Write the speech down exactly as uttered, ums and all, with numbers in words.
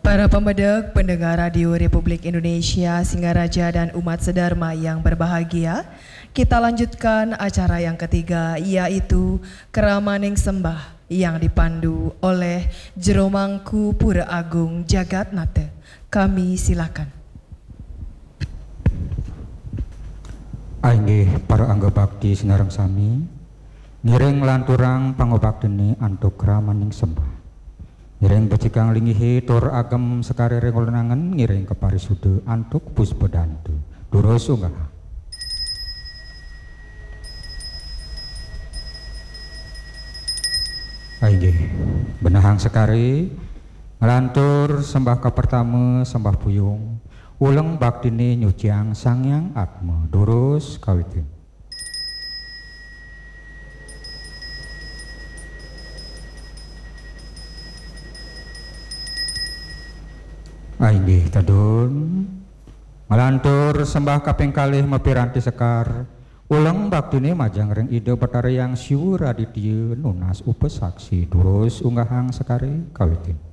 Para pemedek, pendengar Radio Republik Indonesia Singaraja dan umat sedharma yang berbahagia, kita lanjutkan acara yang ketiga, yaitu Keramaning Sembah yang dipandu oleh Jero Mangku Pura Agung Jagatnata. Kami silakan. Ainggih para angga bakti sinareng sami, ngiring lanturang pangobaktine antuk ramaning sembah. Ngiring becikang lingihe tur agem sekare ring lenangen, ngiring kaparisuda antuk puspa dantu. Durus unggah. Ainggih, benehang sekare, nglantur sembah kapertama, sembah puyung, uleng baktine nyuciang Sang Hyang Atma. Durus kawitin. Ainggih tedun, nglantur sembah kaping kalih mapiranti sekar, uleng baktine majeng ring Ida Betara Hyang Siwa Raditya nunas upasaksi. Durus unggahang sekare kawitin.